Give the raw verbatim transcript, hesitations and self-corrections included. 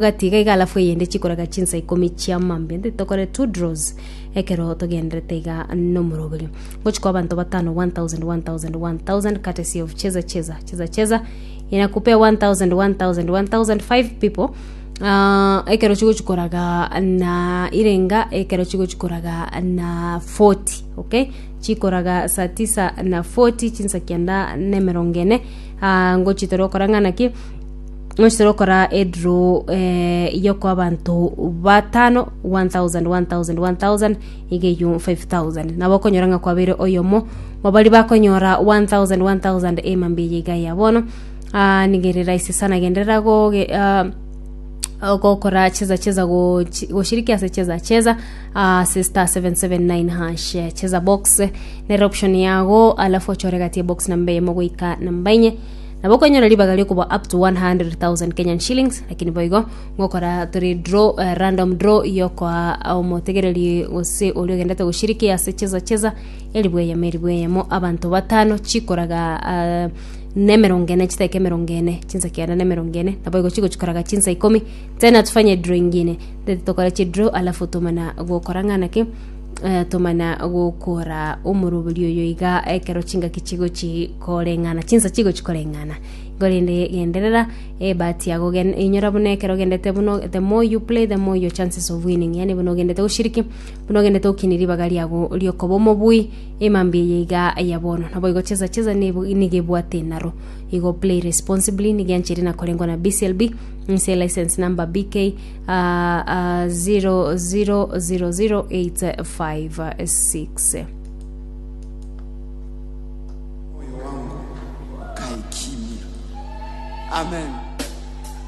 Gati iga iga alafu eyende chikoraga chinsa ikomi chia mambia ntete tokore two draws ekero togenderete iga nomoroberio ngochi kwa abanto batano one thousand one thousand one thousand courtesy of cheza cheza cheza cheza inakupea one thousand one thousand one thousand five people Ah, ekero chigochi koraga na irenga ekero chigochi koraga na forty okay chikoraga saa tisa na forty chinsa kianda na emerongo ene ah, ngochi torokora ng'a naki ngochi torokora edraw eh, yokoa abanto batano one thousand one thousand one thousand iga eywo five thousand nabo okonyora ng'a kwabeire oyomo mabari bakonyora one thousand one thousand emambia eye iga ya bono ah, niga ere rahisi sana genderera goge ah, gokora cheza cheza gochi- goshiriki ase cheza cheza ase star seven seven nine hash cheza box nere option yago alafu ochore gati ya box namba eyemo goika namba inye nabo okonyora ribaga riokoba up to one hundred thousand Kenyan shillings lakini boigo ngokora tore draw uh, random draw yokoa omotegereri gose oria ogendete goshiriki ase cheza cheza eribu eyemo eribu eyemo abanto batano chikoraga uh, na emerongo ene chidakika emerongo ene chinsa kianda na emerongo ene nabo igo chigochikoraga chinsa ikomi tena tufanye draw ingine ndete tokore chidraw alafu tomana gokora ng'a naki eh, tomana gokora omoroberi oyo iga ekero chingaki chigochi koreng'ana chinsa chigochi koreng'ana igo rende genderera ebahati yago gen inyora buna ekero ogendete buna the more you play the more your chances of winning yaani buna ogendete goshiriki buna ogendete gokina ribaga riago riokoba omobui emambia eye iga ya bono nabo igo cheza cheza nigo nigo ebwate naro igo play responsibly nigo eanchire na korengwa na B C L B nse license number B K uh, uh, zero zero zero zero eight five six. Moyo wangu ukae kimya. Amen.